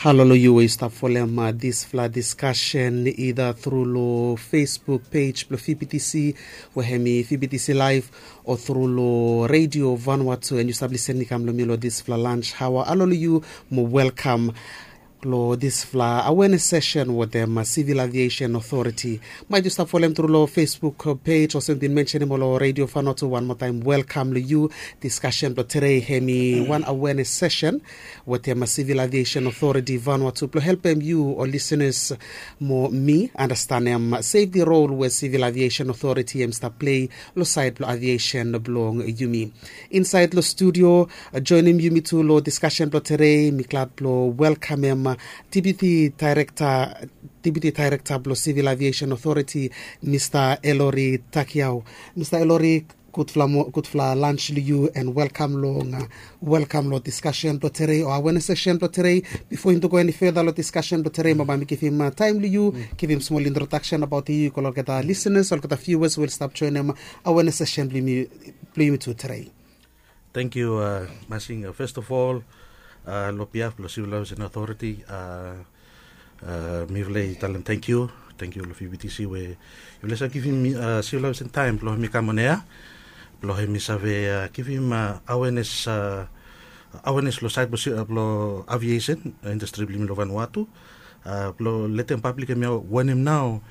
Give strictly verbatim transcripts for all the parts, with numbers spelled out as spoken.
Halo long yu we yu stap folem disfala diskasen ida tru long Facebook pej blong V B T C we hem i V B T C Live, o tru long Radio Vanuatu, and yu stap lisen i kam long mi long disfala lunch haoa. Halo long yu mo welkam long disfala awareness session wetem Civil Aviation Authority. Maet yu stap folem tru long Facebook pej olsem bin mensenem long Radio Vanuatu, wan moa taem welkam long yu. Diskasen blong tede hem i wan awareness session wetem Civil Aviation Authority Vanuatu blong helpem yu ol lisenas mo mi andastanem sefti rol we Civil Aviation Authority hem i stap plei long saed blong aviation blong yumi. Insaed long studio, joenem yumi tu long diskasen blong tede, mi glad blong welkamem Deputy Director, Deputy Director blong Civil Aviation Authority, Mista Elori Takiau. Mista Elori, gudfala mo- gudfala lunch long yu and welkam long welkam long diskasen blong tede o awareness session blong tede. Bifo yumi tu go eni feda long diskasen blong tede, mo bae mi givim taem long yu givim smol introdaksen abaot yu go long olgeta lisenas, olgeta viewers we oli stap joenem awareness session blong yumi tu tede. Thank you, Masing. First of all, long behalf blong Civil Aviation Authority, mifala i talem thank you, thank you long V B T C we yufala i save givim Civil Aviation taem blong hem i kam on air blong hem i save givim awareness, awareness long saed blong aviation industri blong yumi long Vanuatu, blong letem pablik hem i wanem nao,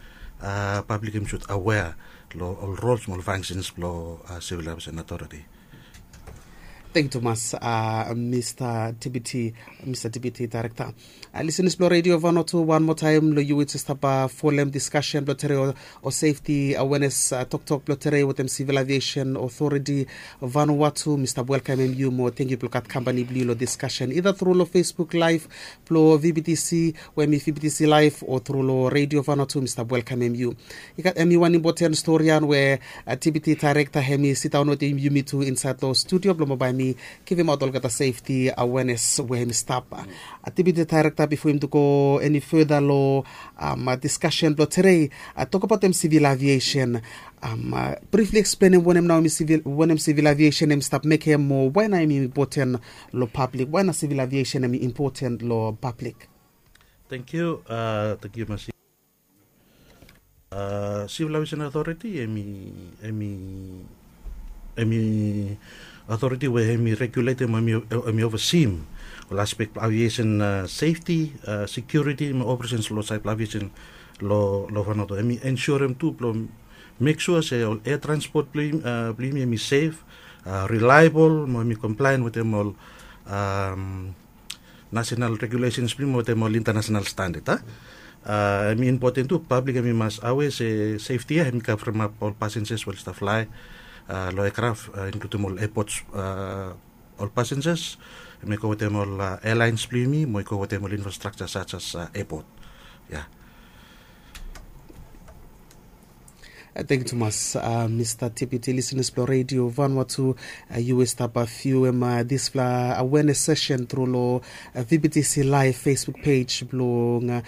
pablik hem i sud aware long ol rols mo ol functions blong Civil Aviation Authority. Thank you tumas, Mista Deputy, Mista Deputy Director. Lisenas blong Radio Vanuatu, wan moa taem long yu we yu stap folem diskasen blong tede o sefti awareness toktok blong tede wetem Civil Aviation Authority Vanuatu, mi stap welkamem yu mo thank yu blong gat kampani blong yu long diskasen ida tru long Facebook Live blong V B T C we hem i V B T C Live o tru long Radio Vanuatu, mi stap welkamem yu. I gat hem i wan impoten stori ya we Deputy Director hem i sidaon wetem yumi tu insaed long studio blong mo bae mi givimaot olgeta sefti awareness we hem i stap. Deputy Director, bifo yumi tu go eni feda long diskasen blong tede, tokbaotem Civil Aviation, brifli eksplenem wanem nao wanem Civil Aviation hem i stap mekem mo wae nao hem i impoten long pablik, wae nao Civil Aviation hem i impoten long pablik. Thank you, thank you Masing. Civil Aviation Authority hem i, hem i, hem i authority we hem i reguletem mo hem i, hem i overseem ol aspek blong aviation safety, security mo operations long saed blong aviation long Vanuatu. Hem i ensurem tu blong mek sua se ol air transport blong yumi hem i sef, reliable mo hem i compliant wetem ol national regulations blong yumi wetem ol international standard a. Hem i impoten tu pablik hem i mas aware se sefti ya hem i kavremap ol passengers we oli stap flae long aircraft, inkludim ol airports, ol passengers hem i go wetem ol airlines blong yumi mo i go wetem ol infrastructure such as airport. Ya. Thank you tumas, Mista Deputy. Lisenas blong Radio Vanuatu, yu we stap viuem disfala awareness session tru long V B T C Live Facebook pej blong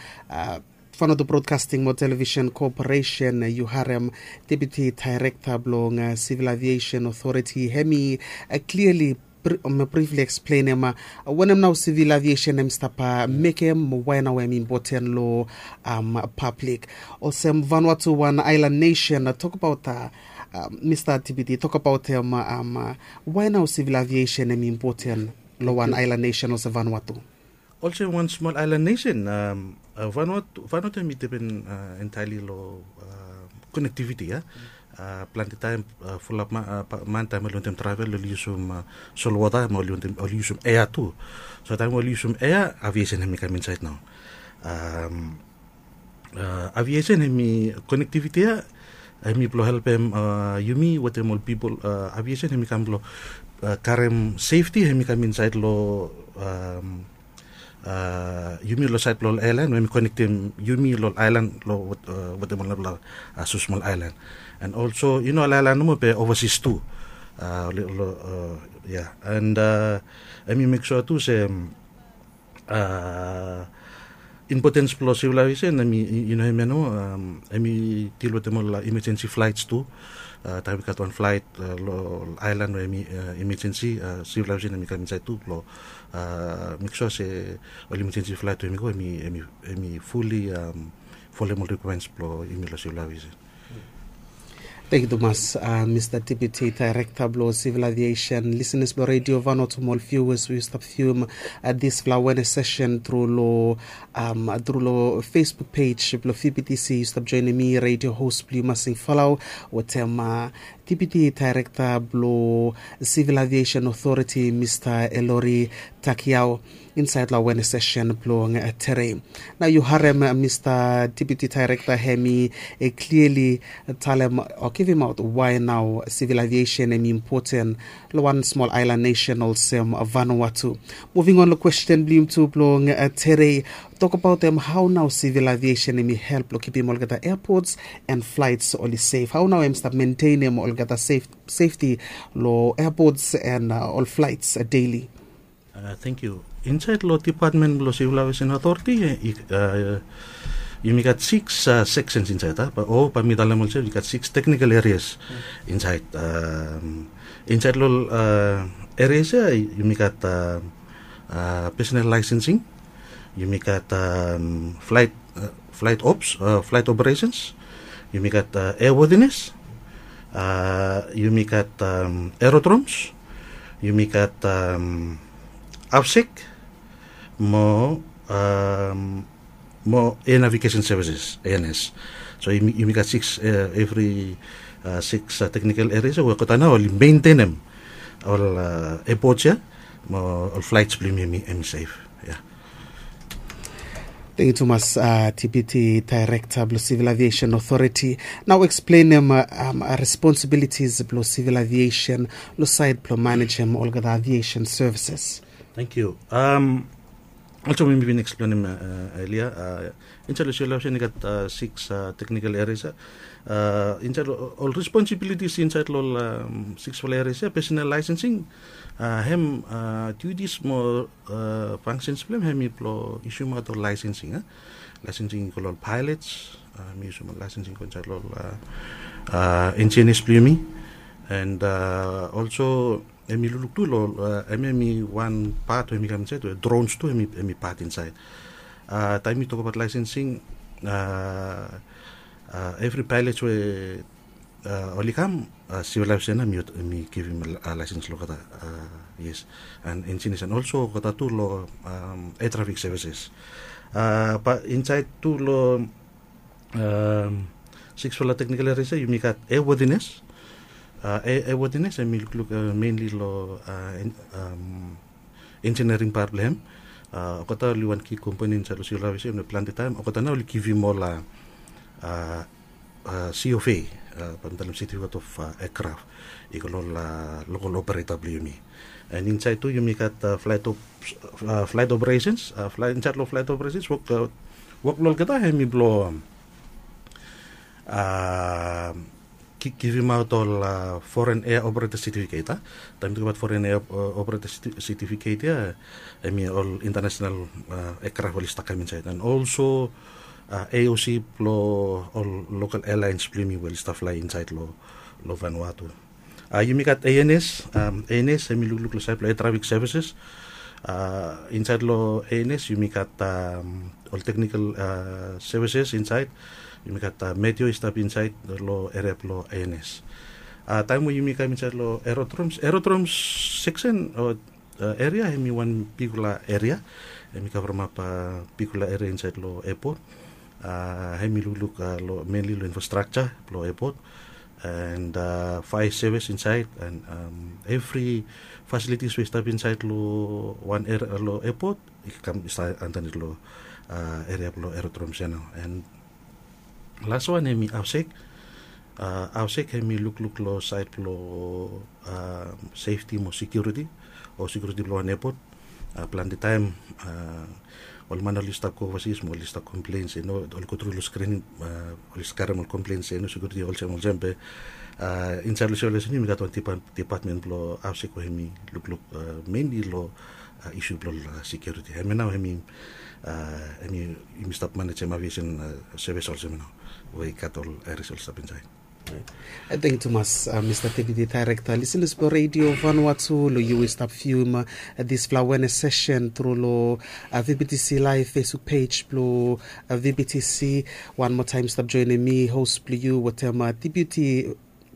Vanuatu Broadcasting mo Television Corporation. Yu harem Deputy Director blong Civil Aviation Authority hem i clearly brifli eksplenem wanem nao Civil Aviation hem i stap mekem mo wae nao hem i impoten long pablik. Olsem Vanuatu wan aelan nesen, tokbaot, Mista Deputy, tokbaotem wae nao Civil Aviation hem i impoten long wan aelan nesen olsem Vanuatu. Olsem wan smol aelan nesen, Vanuatu, Vanuatu hem i dipen entirely long konektiviti ya. Plante taem fulap man taem oli wantem travel oli yusum solwota mo oli wantem oli yusum ea tu. So taem oli yusum ea, aviation hem i kam insaed nao. Aviation hem i konektiviti ya hem i blong helpem yumi wetem ol pipol. Aviation hem i kam blong karem sefti hem i kam insaed long yumi long saed blong ol aelan we hem i konektem yumi long ol aelan long wetem ol narafala smosmol aelan. And olso i no ol aelan nomo be ovasis tu. Ya, and hem i mek sua tu se impotens blong Civil Aviation hem i, i no hem ya nomo, hem i dil wetem ol emergency flaets tu. Taem i gat wan flait long aelan we em i emejensi, sivil aviesen em i kam insaed tu blong mek sua se ol emejensi flait we em i go em i fuli folem ol rikwaemens blong yumi long sivil aviesen. Tengkiu tumas, mista deputi daerekta blong sivil aviesen. Lisenas blong redio vanotu mo ol viuas we yu stap vium disfala wenes sesen tru long tru long facebook pej blong vptc, yu stap joenem mi redio hos blong yu masing falau wetem deputi daerekta blong sivil aviesen otoriti mista elori takiao insaed long awenes sesen blong terei. Nao yu harem mista deputi daerekta hem i kliali talem o givimaot wae nao sivil aviesen hem i impoten long wan smol aelan nesen olsem vanua tu. Muving on long kwesten blong yum tu blong terei, tokabaot hem hao nao sivil aviesen hem i help long kipim olgeta eapots en flaets oli sef? Hao nao hem stap mentenem olgeta sefti long eapots en ol flaets deili? Tengkiu. Insaed long depatmen blong sivil aviesen otoriti, yumi gat siks seksens insaed, o bae mi talem olsem i gat siks teknikal erias insaed. Insaed long ol erias ya yumi gat pesonel laesensing, yumi gat flaet ops, flaet operesens, yumi gat eawodines, yumi gat erodroms, yumi gat afsek mo mo air navigation services, ans. So yumi gat siks, evri siks teknikal erias we olgeta nao oli mentenem ol epots ya mo ol flaets blong yumi hem i sef. Tengkiu tumas, deputi daerekta blong sivil aviesen otoriti. Nao eksplenem responsibilitis blong sivil aviesen long saed blong manejem olgeta aviesen sevises. Tengkiu. Olsem we mi bin eksplenem elia, insaed long sivil aviesen i gat siks teknikal erias ya. Insaed long ol responsibilitis insaed long ol siksfala erias ya, pesonel laesensing, hem dutis mo fangsens blong hem hem i blong isiumaot ol laesensing. Laesensing i go long ol paelots, hem i isiumaot laesensing i go insaed long ol enjinis blong yumi. And olso hem i lukluk tu long hem hem i wan pat we hem i kam insaed we drons tu hem i pat insaed. Taem mi tokbaot laesensing, evri paelots we oli kam, sivil laesens ya mi givim laesens long olgeta. Yes. And enjinis and olso olgeta tu long air trafik sevises. Bae insaed tu long siksfala teknikal erias ya yumi gat eawodines. Eawodines hem i lukluk menli long enjiniring pat blong hem. Olgeta oli wan ki kompani insaed long sivil aviesen we plante taem olgeta nao oli givim ol cofa, bae mi talem certificate of aircraft, i go long ol lokal opereta blong yumi. And insaed tu yumi gat flaet operesens. Insaed long flaet operesens wok blong olgeta hem i blong givimaot ol foren ea opereta setifiket. Taem mi tokbaot foren ea opereta setifiket ya, hem i ol intanesenal eakraf oli stap kam insaed and olso aoc blong ol lokal ealaens blong yumi we oli stap flae insaed long vanua tu. Yumi gat ans. Ans hem i lukluk long saed blong air trafik sevises. Insaed long ans yumi gat ol teknikal sevises insaed. Yumi gat meteo i stap insaed long eria blong ans. Taem we yumi kam insaed long erodroms, erodroms seksen o eria hem i wan bigfala eria. Hem i kavremap bigfala eria insaed long epot. Hem i lukluk menli long infrastrakja blong epot and faea sevis insaed and evri fasilitis we i stap insaed long wan eria long epot i kam i stap andanit long eria blong erodroms ya nao. And laswan hem i afsek. Afsek hem i lukluk long saed blong sefti mo sekiuriti o sekiuriti blong wan epot. Plante taem ol man oli stap go ovasis mo oli stap komplen se no oli go tru long skrining, oli stap karem ol komplen se no sekiuriti olsem olsem be insaed long sivil aviesen yumi gat wan depatmen blong afsek we hem i lukluk menli long isu blong ol sekiuriti. Hemia nao hem i hem i yumi stap manejem aviesen sevis olsem nao we i gat ol eris oli stap insaed. Thank tumas, uh, Mr. Deputy Director. Listeners blo Radio Vanuatu, lo yu i stap viewim, uh, dispela awareness session tru lo, uh, V B T C live Facebook page blo, uh, V B T C. One more time stap joinim mi, host blo yu, wetem, uh, Deputy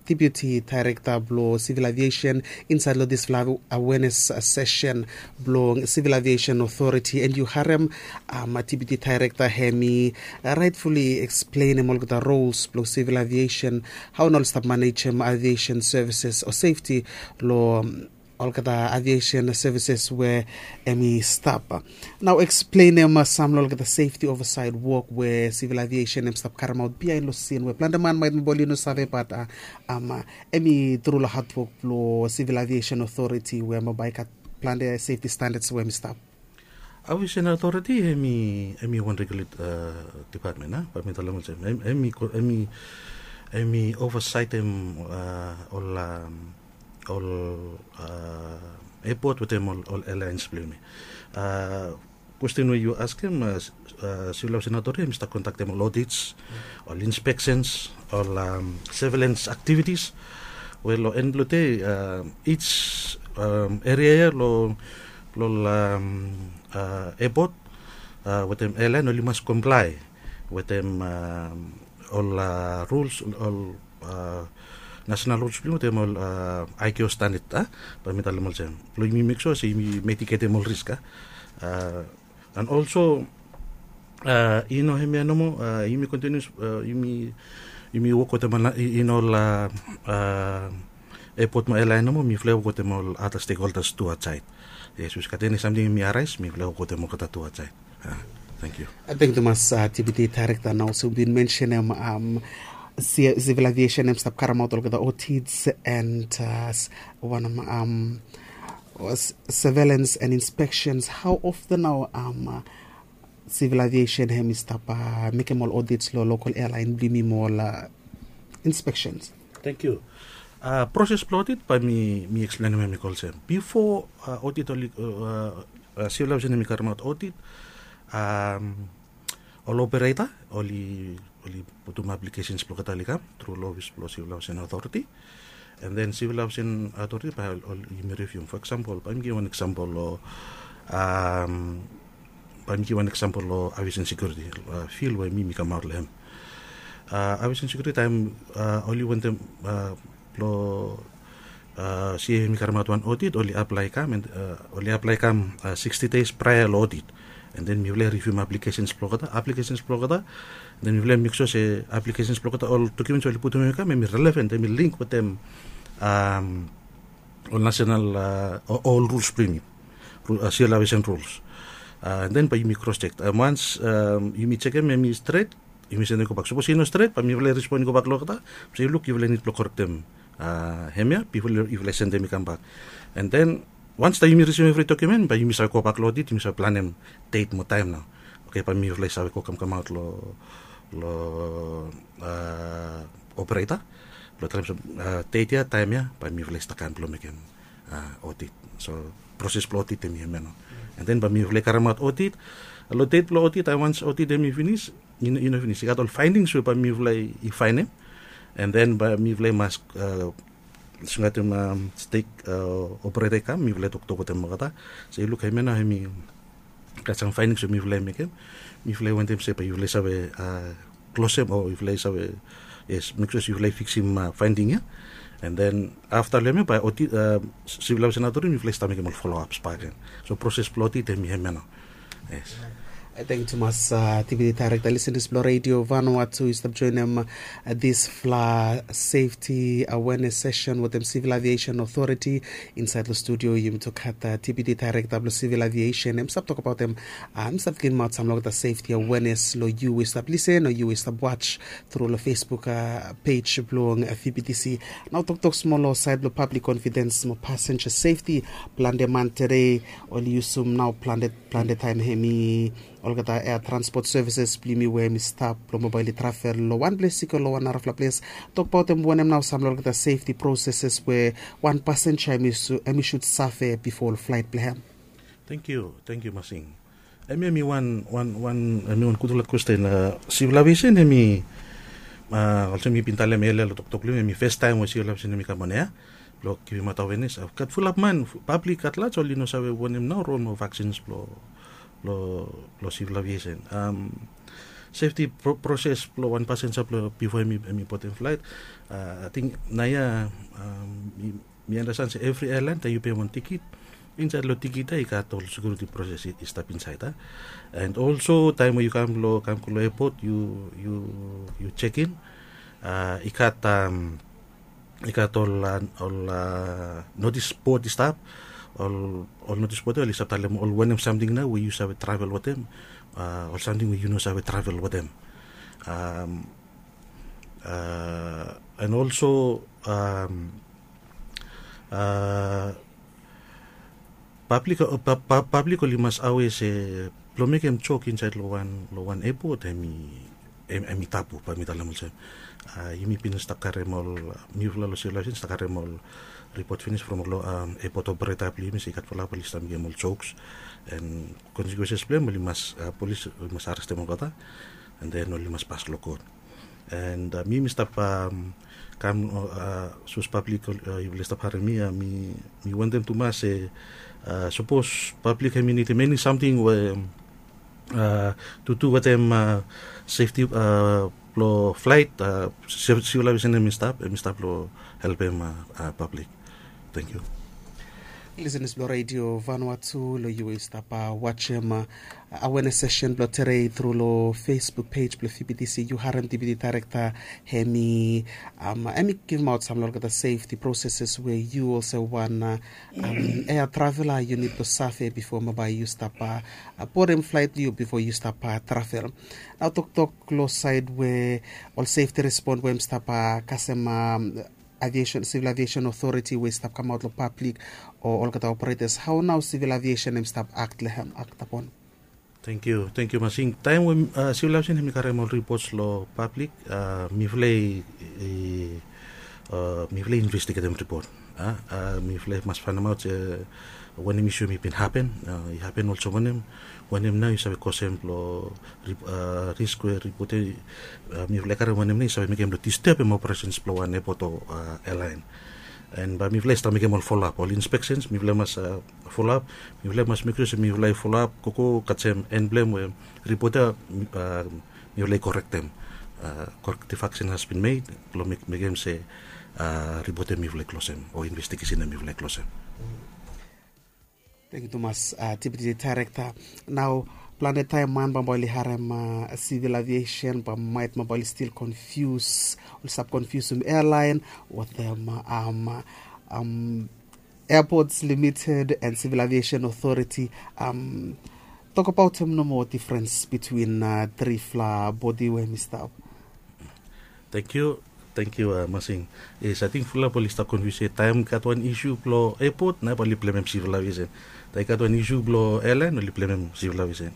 Deputy Director blo Civil Aviation inside lo dispela awareness, uh, session blo Civil Aviation Authority, and yu harem, um, Deputy Director hemi, uh, rightfully explainim olgeta roles blo civil aviation, hau nao oli stap manejem aviation services o safety lo, um, olgeta aviation services we hemi stap. Nao explainim, uh, sam lo olgeta safety oversight work we civil aviation hemi stap karemaot bihain lo scene we plante man maet bai oli no save, but, uh, um, uh, hemi tru lo hard work blo Civil Aviation Authority we hemi bai gat plante safety standards we hemi stap. Aviation Authority hemi, hemi wan regulate, uh, department, a? Bai mi talem olsem, hem, hemi ko-, hemi, hemi oversightem, uh, ol, um, ol, uh, airport wetem ol, ol airlines blo yumi. Uh, kwesten we yu askem, uh, s-, uh, Civil Aviation Authority hemi stap kondaktem ol audits, ol inspections, ol, um, surveillance activities. Wel, lo en blo dei, uh, each, um, area ia lo, lo, um, uh, airport, uh, wetem airline oli mas comply wetem, um, ol, uh, rules, ol, uh, national rules blo yumi wetem ol, uh, I C A O standard, a? Bai mi talem olsem, blo yumi make sure se yumi mitigatem ol risk, a? Uh, and also, uh, i no hemia nomo, uh, yumi continuous, uh, yumi, yumi wok wetem ol, i, i no ol, uh, uh, airport mo airline nomo, mifala i wok wetem ol other stakeholders tu outside. Yes, bikos gat eni samting hemi arise, mifala i wok wetem olgeta tu outside. Uh, thank you. Uh, thank tumas, uh, Deputy Director. Nao olsem yu bin mentionem, um, ci-, civil aviation hemi stap karemaot olgeta audits and, uh, s-, wanem, um, s-, surveillance and inspections. How often nao, um, uh, civil aviation hemi stap, uh, mekem ol audits lo local airline blo yumi mo ol, uh, inspections? Thank you. Uh, proses blo audit bai mi, mi explainim hemi go olsem. Bifo, uh, audit oli, uh, uh, civil aviation hemi karemaot audit, um, ol operator oli, oli putum applications blo olgeta oli kam tru lo office blo Civil Aviation Authority. And then Civil Aviation Authority bai ol, ol yumi reviewim. For example, bai mi givim wan example lo, um, bai mi givim wan example lo aviation security, uh, field we mi, mi kamaot lo hem. Uh, aviation security taem, uh, oli wantem, uh, lo, uh, C A A hemi karemaot wan audit, oli apply kam, and, uh, oli apply kam, uh, sixty days prior lo audit. And then mifala i reviewim applications blo olgeta, applications blo olgeta. Then mifala i make sure se applications blo olgeta, ol documents we oli putum hemi kam, hemi relevant, hemi link wetem, um, ol national, uh, o-, ol rules blo yumi. Ru-, uh, civil aviation rules. Uh, and then bai yumi cross check. Uh, once, um, yumi chekem hemi stret, yumi sendem gobak. Sapos i no stret, bai mifala i respond gobak lo olgeta. Olsem, luk, yufala i nid blo korektem, uh, hemia bifo yufala i sendem i kambak. And then, once taem yumi risiv evri document, bai yumi save gobak lo audit, yumi save planem date mo taem nao. Oke, bai mifala i save go kamkamaot lo, lo, uh, operator blo talem se, uh, date ia, taem ia, bai mifala i stap kam blo mekem, uh, audit. So, proses blo audit hemi hemia nao. And then bai mifala i karemaot audit. Lo date blo audit, uh, once audit hemi finis, i no, i no finis. I gat ol findings we bai mifala i faenem. And then bai mifala i mas, uh, singaotem, um, stake, uh, operator i kam, mifala i toktok wetem olgeta se, luk, hemia nao hemi gat sam findings we mifala i mekem. Mifala i wantem se bai yufala i save, uh, klosem o yufala i save, yes, make sure se yufala i fiksim, uh, finding ia. And then afta lo hemia bai audit, uh, Civil Aviation Authority, mifala i stap mekem ol follow-ups bakegen. So proses blo audit hemi hemia nao. Yes. Uh, thank tumas, uh, Deputy Director. Listeners blo Radio Vanuatu, yu stap joinim, uh, dispela safety awareness session wetem Civil Aviation Authority. Inside lo studio yumi tu gat, uh, Deputy Director blo Civil Aviation. Hemi stap tokbaotem, uh, hemi stap givim aot sam lo olgeta safety awareness lo yu we yu stap lisen o yu we yu stap watch tru lo Facebook, uh, page blo, uh, V B T C. Nao toktok smol lo saed blo public confidence mo passenger safety. Plante man tede oli yusum nao plante, plante taem hemi olgeta air transport services blo yumi we hemi stap blo mo bai oli travel lo wan ples i go lo wan narafala ples. Tokbaotem wanem nao sam lo olgeta safety processes we wan passenger hemi su-, hemi should save bifo ol flight blo hem. Thank you, thank you, Masing. Hemia hemi wan, wan, wan, hemi wan gutfala kwesten, uh, Civil Aviation hemi, Olsem mi bin talem elia long toktok blong yumi, em i fes taem we sivil aviesen em i kam on ea blong givimaot awenes. Gat fulap man, pablik at laj, oli no save wanem nao rol mo vaksins blong blong sivil aviesen. Sefti proses blong wan pasenja blong bifo em i botem flaet. Ating naoia mi andasten se evri ealaen taem yu pem wan tikit, insaed long tikit ya i gat ol sekiuriti proses i stap insaed ya. And olso taem we yu kam long kam go long epot, yu yu yu jekin, i gat i gat ol ol notis bod i stap. Ol ol notis bod ya oli stap talem ol wanem samting nao we yu save travel wetem, ol samting we yu no save travel wetem. And olso pablik pablik oli mas awe se blong mekem jok insaed long wan long wan epot em i em i tabu, bae mi talem olsem. Yumi bin stap karem ol, mifala long sivil aviesen i stap karem ol ripot finis from ol epot opereta blong yumi se i gat fulap oli stap mekem ol joks, and konsekuenses blong em oli mas polis oli mas arestem olgeta, and then oli mas pas long kot. And mi mi stap kam sapos pablik yufala i stap harem mi ya, mi wantem tumas se sapos pablik hem i nidim eni samting we tu tu wetem sefti blong flaet, sivil aviesen hem i stap hem i stap blong helpem pablik. Tangkiu. Lisenas blong redio Vanuatu, long yu we yu stap wajem awenes sesen blong tedei tru long Facebook pej blong VBTC, yu harem Deputy Director hem i hem i givimaot sam long olgeta sefti proseses we yu olsem wan ea travela yu nid blong save bifo bae yu stap bodem flaet blong yu bifo yu stap travel. Nao toktok long saed we ol sefti respon we hem stap kasem aviesen, sivil aviesen otoriti we i stap kamaot long pablik o olgeta operetas, hao nao sivil aviesen hem i stap akt long hem, akt apon? Tangkiu, tangkiu Masing. Taem we sivil aviesen hem i karem ol ripots long pablik, mifala i mifala i investigetem ripot. Mifala i mas faenemaot se wanem isu hem i bin hapen, i hapen olsem wanem, wanem nao i save kosem blong risk we ripot ya mifala i karem, wanem nao i save mekem blong distebem operesens blong wan epot o ealaen. And bae mifala i stap mekem ol folap, ol inspeksens mifala i mas folap. Mifala i mas mek sua se mifala i folap gogo kasem en blong em we ripot ya mifala i korektem. Corrective action has been made blong mekem se ripot ya mifala i klosem o investigesen ya mifala i klosem. Tangkiu tumas, Deputy Director. Nao plante taem man bambae oli harem sivil aviesen bambae maet bambae oli stil konfius, oli stap konfiusum ealaen wetem Airports Limited and Civil Aviation Authority. Tokbaot hem nomo difrens bitwin trifala bodi we hem i stap. Tangkiu, tangkiu Masing. Yes, ating fulap oli stap konfius se taem gat wan isu blong epot nao bae oli blemem sivil aviesen. Taem i gat wan isu blong ealaen oli blemem sivil aviesen.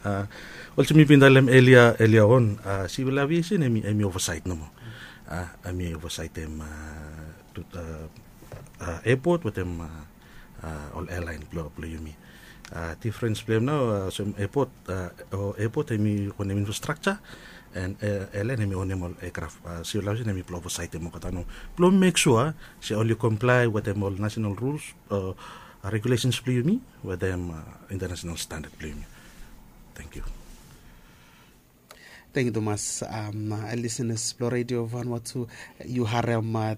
Olsem mi bin talem elia elia on, sivil aviesen hem i ovasaet nomo. Hem i ovasaetem epot wetem ol ealaen blong yumi. Difrens blong hem nao olsem epot, epot hem i onem infrastrakja, and ealaen hem i onem ol eakraf. Sivil aviesen hem i blong ovasaetem olgeta nao blong mek sua se oli komplae wetem ol nasenal ruls o regulesens blong yumi wetem intanasenal standad blong yumi. Tangkiu. Tangkiu tumas. Lisenas blong redio Vanuatu, yu harem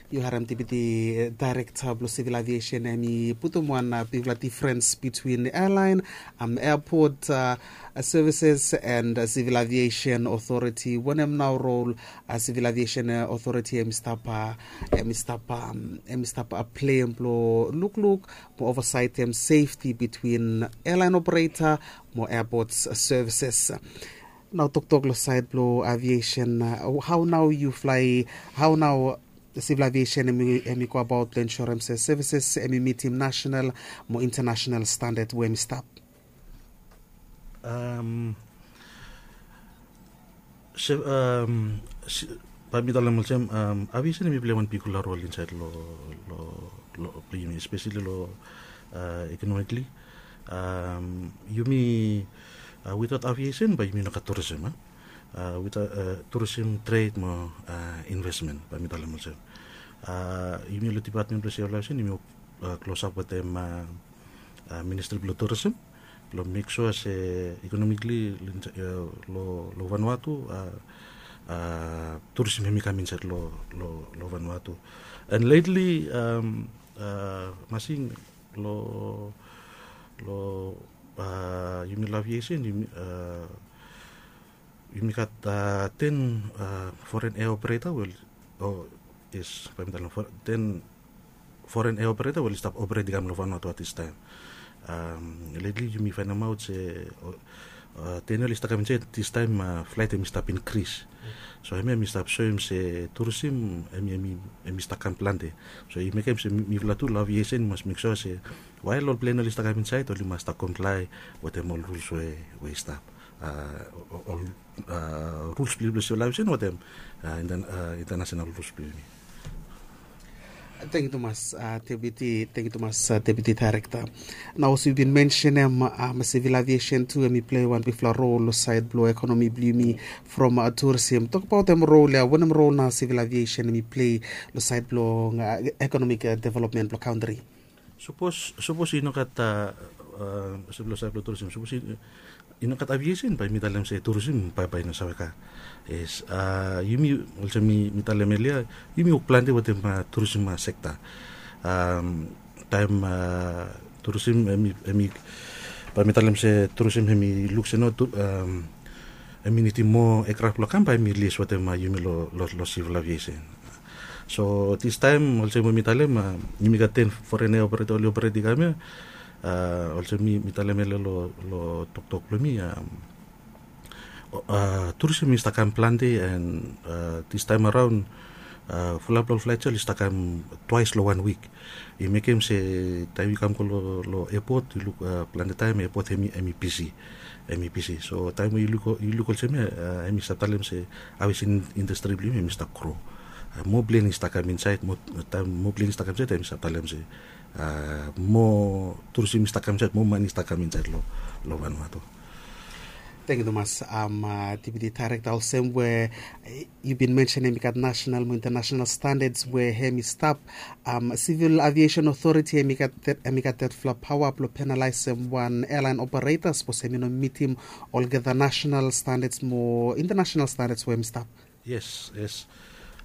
yu harem Deputy Director blong sivil aviesen hem i putum wan bigfala difrens bitwin ealaen, airport services and sivil aviation authority. Wanem nao rol sivil aviation authority hem i stap hem i stap hem i stap pleim blong lukluk mo ovasaetem sefti bitwin ealaen opereta mo airport services? Nao toktok long saed blong aviesen, hao nao yu flae, hao nao sivil aviesen hem i goabaot blong ensurem se sevises hem i mitim nasenal mo intanasenal standad we hem i stap? Bae mi talem olsem, aviesen hem i pleim wan bigfala rol insaed long blong yumi, espeseli long ekonomikli. Yumi witaot aviesen bae yumi no gat turism. Wit turisim, tred mo investment, bae mi talem olsem. Yumi long dipatmen blong sivil aviesen yumi wok klosap wetem ministri blong turisim blong mek sua se ikonomikli long Vanuatu, turisim hem i kam insaed long Vanuatu. And letli masing long yumi long aviesen, yumi gat ten foren ea opereta we, o yes, bae mi talem, ten foren ea opereta we oli stap operate i kam long Vanuatu at this time. Letli yumi faenemaot se ten oli stap kam insaed, this time flaet hem i stap inkris. So hemia hem i stap soem se turisim hem i stap kam plante. So i mekem se mifala tu long aviesen i mas mek sua se wael ol plen oli stap kam insaed oli mas stap komplae wetem ol ruls we i stap, ol ruls blong yumi blong sivil aviesen wetem intanasenal ruls blong yumi. Tangkiu tumas, Deputi, tangkiu tumas, Deputi Daerekta. Nao olsem yu bin mensenem, sivil aviesen tu hem i plei wan bigfala rol long saed blong ekonomi blong yumi from turisim. Tokbaot hem rol ya, wanem rol nao sivil aviesen hem i plei long saed blong ekonomik developmen blong kantri? Sapos i no gat, olsem long saed blong turisim, sapos i no gat aviesen bae mi talem se turisim bae i no save kam. Yes. Yumi olsem mi talem elia, yumi wok plante wetem turisim sekta. Taem turisim hem i, bae mi talem se turisim hem i luk se no hem i nidim moa ekraf blong kam, bae hem i lis wetem yumi long sivil aviesen. So this time olsem we mi talem, yumi gat ten foren ea opereta oli operate i kam ya. Olsem mi talem elia long toktok blong mi, turisim i stap kam plante, and this time araon fulap long ol flaet ya oli stap kam twaes long wan wik. I mekem se taem yu kam go long epot yu luk, plante taem epot hem i bisi. Hem i bisi. So taem we yu luk olsem ya, hem i stap talem se aviesen indastri blong yumi hem i stap gro. Moa plen i stap kam insaed, taem moa plen i stap kam insaed hem i stap talem se moa turisim i stap kam insaed, moa mane i stap kam insaed long Vanuatu. Tangkiu tumas, Deputi Daerekta. Olsem we yu bin mensenem i gat nasenal mo intanasenal standads we hem i stap. Sivil Aviesen Otoriti hem i gat detfala paoa blong penalaesem wan ealaen opereta sapos hem i no mitim olgeta nasenal standads mo intanasenal standads we hem i stap. Yes, yes.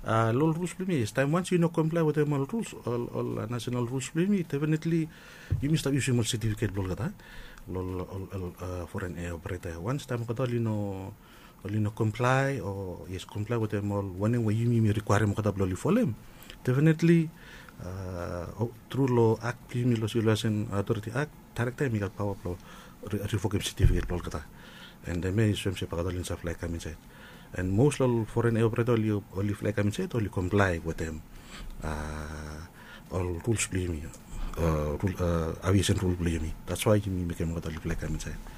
Long ol ruls blong yumi, yes, taem wans yu no komplae wetem ol ruls, ol nasenal ruls blong yumi, definitli yumi stap yusim ol setifiket blong olgeta, ol foren ea opereta ya. Wans taem olgeta oli no oli no komplae o yes, komplae wetem ol wanem we yumi yumi rikwaerem olgeta blong oli folem, definitli tru long ak blong yumi long Sivil Aviesen Otoriti Ak, Daerekta hem i gat paoa blong rivokem setifiket blong olgeta. And hemia i soem se bae olgeta oli no save flae kam insaed. And mos long ol foren ea opereta oli flae kam insaed oli komplae wetem ol ruls blong yumi, aviesen rul blong yumi. That's why yumi mekem olgeta oli flae kam insaed.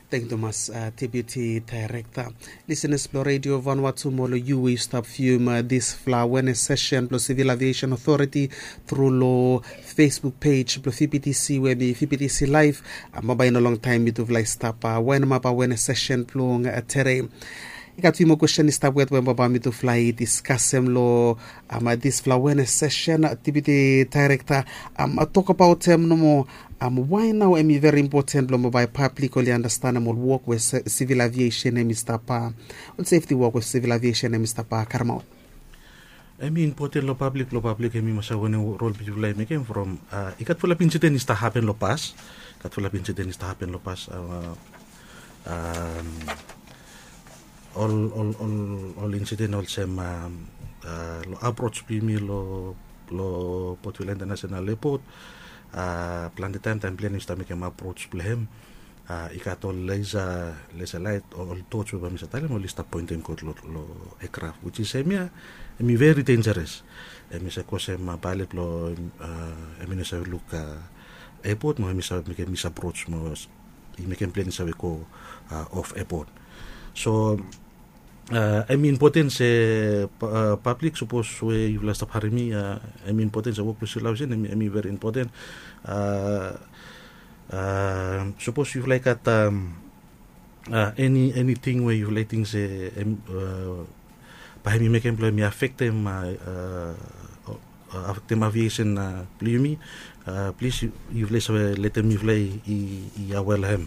Tangkiu tumas, Deputi Daerekta. Lisenas blong Redio Vanuatu mo long yu we yu stap vium disfala awenes sesen blong Sivil Aviesen Otoriti tru long Facebook pej blong VPTC we hem i VPTC Laev. Bambae i no longtaem mitufala i stap waenemap awenes sesen blong tede. I gat fiu moa kwesten i stap wet we bambae mitufala i diskasem long disfala awenes sesen. Deputi Daerekta, tokbaot hem nomo, wae nao hem i veri impoten blong bambae pablik oli andastanem ol wok we sivil aviesen hem i stap, ol sefti wok we sivil aviesen hem i stap karemaot? Hem i impoten long pablik blong pablik hem i mas save wanem rol blong yufala i mekem from i gat fulap insiden i stap hapen long pas. Gat fulap insiden i stap hapen long pas. Ol ol ol ol insiden olsem long aproj blong yumi long Port Vila International Airport. Plante taem taem plen i stap mekem aproj blong hem, i gat ol lesa lesa laet o ol toj we bae mi save talem oli stap poentem god long ekraf, which is hemia hem i veri denjeres. Hem i save kosem paelet blong hem i no save luk eapot mo hem i save mekem misaproj mo i mekem plen i save go of eapot. So hem i impoten se pablik sapos we yufala stap harem mi, hem i impoten se wok blong sivil aviesen hem i veri impoten. Sapos yufala i gat Eni eniting we yufala i ting se bae hem i mekem blong hem i afektem afektem aviesen blong yumi, plis yufala i save letem mifala i awea long hem.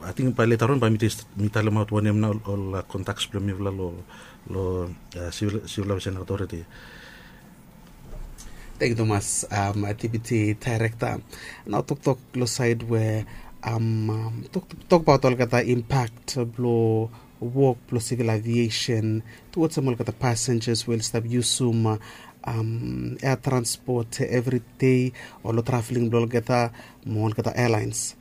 Ating bae leta on bae mi talemaot wanem nao ol kontaks blong mifala long sivil aviesen authority. Tengkiu tumas, deputi daerekta. Nao toktok long saed we tokbaot olgeta impak blong wok blong sivil aviesen tuwatsem olgeta pasenjas we oli stap yusum ea transpot evri dei o long traveling blong olgeta mo olgeta ealaens.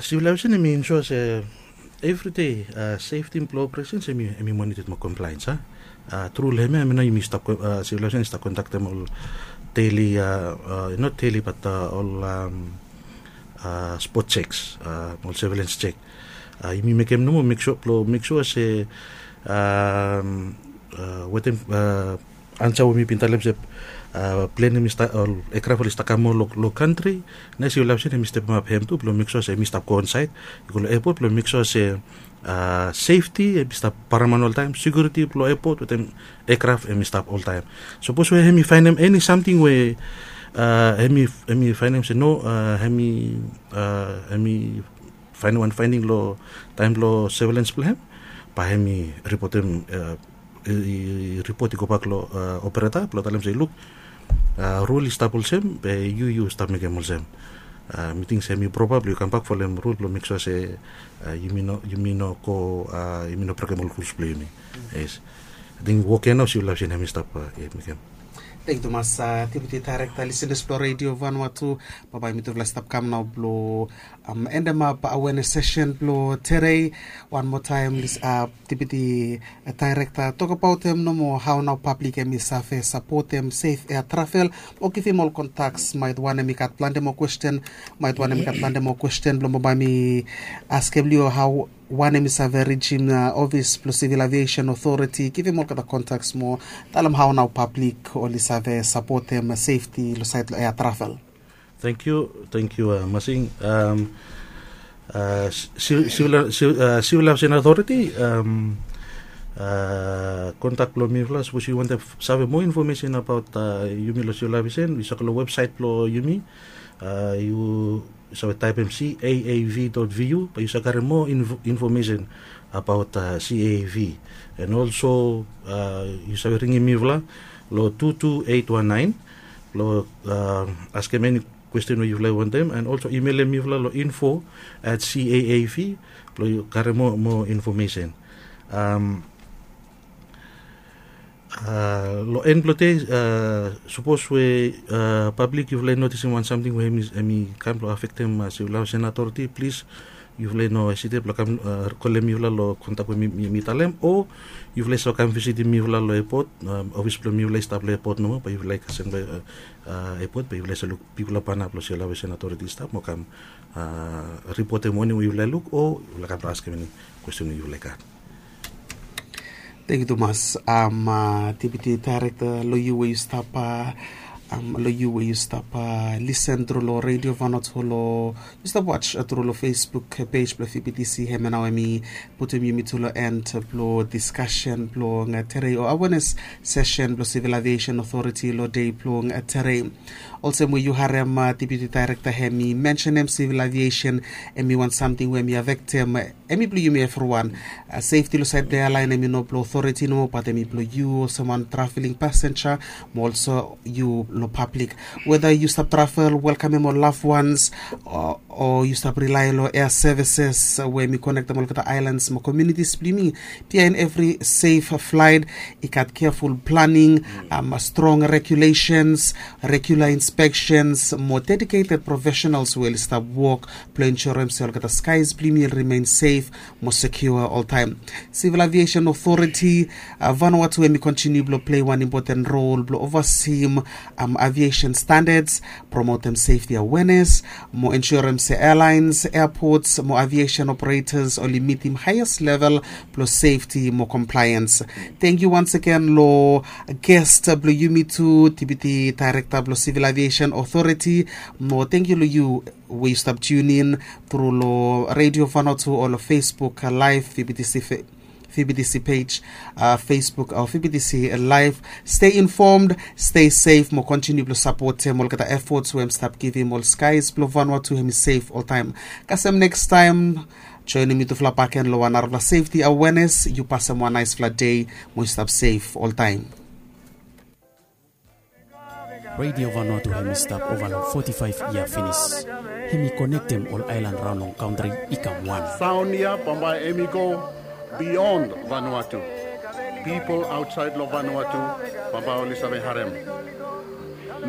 Sivil aviesen hem i insua se evri dei sefti blong operesen hem i monited mo komplaens a. Tru long hem ya hem ya nao yumi stap sivil aviesen i stap kondaktem ol deli, not deli bat ol spot seks, ol sevelens sek. Yumi mekem nomo meksua blong meksua se wetem ansa we mi bin talem se plen hem i stap ol ekraf oli stap kam moa long kantri. Nao sivil aviesen hem i stepemap hem tu blong meksua se hem i stap go onsaed i go long epot blong meksua se sefti hem i stap paraman oltaem, sekiuriti blong epot wetem ekraf hem i stap oltaem. Sapos we hem i faenem eni samting we hem i faenem se no, hem i faenem wan faening long taem blong sevelens blong hem, bae hem i ripotem i ripot i gobak long opereta blong talem se luk, rul i stap olsem be yu yu stap mekem olsem. Mi ting se hem i propa blong yu kambak folem rul blong meksua se yumi no go, yumi no brekem ol ruls blong yumi. Yes. Ating wok ya nao sivil aviesen hem i stap mekem. Tengkiu tumas, deputi daerekta, lisenas blong redio vanua tu. Bambae mitufala i stap kam nao blong endemap awenes sesen blong tedei. Wan moa taem, deputi daerekta, tokbaot hem nomo hao nao pablik hem i save sapotem sef ea travel mo givim ol kontaks maet wanem i gat plante moa kwesten, maet wanem i gat plante moa kwesten blong bambae mi askem long yu hao wanem i save rijim ofis blong sivil aviesen otoriti givim olgeta kontaks mo talem hao nao pablik oli save sapotem sefti long saed long ea travel. Tengkiu, tengkiu Masing. Sivil aviesen authoriti, kontak blong mifala sapos yu wantem save moa infomesen abaot yumi long sivil aviesen yu save go long websaet blong yumi. Yu save taepem caav dot vu bae yu save karem moa infomesen abaot caav. And olso yu save ringim mifala long tu tu eit wan naen blong askem eni kwesten we yufala i wantem, and olso imelem mifala long info at caav blong yu karem moa infomesen. Long en blong dei, sapos we pablik yufala i notisim wan samting we hem i kam blong afektem sivil aviesen authoriti, plis yufala i no hesitet blong kam kolem mifala long kontak we mi talem, o yufala i save kam visitim mifala long epot. Ofis blong mifala i stap long epot nomo, bae yufala i kasem long epot bae yufala i save luk bigfala bana blong sivil aviesen authoriti i stap mo kam ripotem wanem we yufala i luk o yufala kam blong askem eni kwesten we yufala i gat. Tengkiu tumas, deputi daerekta, long yu we yu stap long yu we yu stap lisen tru long redio vanua tu, long yu stap was tru long Facebook pej blong vptc, hem ya nao hem i putum yumi tu long en blong diskasen blong tedei o awenes sesen blong sivil aviesen otoriti long dei blong tedei. Olsem we yu harem deputi daerekta hem i mensenem sivil aviesen hem i wan samting we hem i afektem hem i blong yumi evriwan. Sefti long saed blong ealaen hem i no blong otoriti nomo bat hem i blong yu olsem wan traveling pasenja mo olso yu long pablik. Weta yu stap travel, welkamem ol lavwans, o yu stap rilae long ea sevises we hem i konektem olgeta aelans mo komiunitis blong yumi, biaen evri sef flaet i gat keaful planing, strong regulesens, regula inspeksens mo dediketed profesenals we oli stap wok blong ensurem se olgeta skaes blong yumi oli rimen sef mo sekiua oltaem. Sivil aviesen otoriti, vanua tu hem i kontiniu blong plei wan impoten rol blong ovasim Aviation standards, promotem safety awareness, mo ensurem se airlines, airports mo aviation operators oli mitim highest level blong safety mo compliance. Thank you once again long guest blong yumi tu, deputy director blong Civil Aviation Authority. Mo thank you long you we yu stap tune in through long Radio Vanuatu o long Facebook live, V B T C page, Facebook o V B T C live. Stay informed, stay safe mo continue blong sapotem olgeta efforts we hem stap givim ol skies blong Vanuatu hem i safe oltaem. Kasem next time, joinim yutufala baken long wan narafala safety awareness. Yu pasem wan naesfala dei mo yu stap safe oltaem. Radio Vanuatu hem i stap ova long forty-five yia finis. Hem i konektem ol aelan raon long kantri i kam wan. Saon ya bambae hem i go beyond Vanuatu. Pipol aotsaed long Vanuatu bambae oli save harem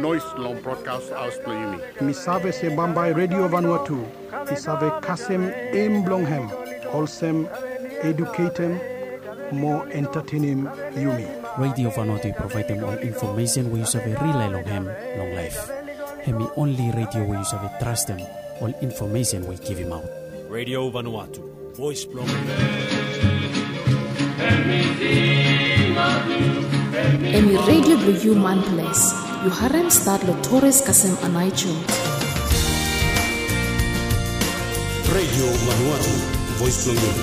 noes long brodkas haos blong yumi. Mi save se bambae Radio Vanuatu i save kasem em blong hem olsem eduketem mo entatenem yumi. Radio Vanuatu i provaedem ol infomesen we yu save rilae long hem long laef. Hem i onli radio we yu save trastem ol infomesen we i givimaot. Radio Vanuatu, voes blong. Em i redio blong yu manples. Yu harem stat long Torres kasem Anai Jun. Radio Vanuatu, voes blong yu.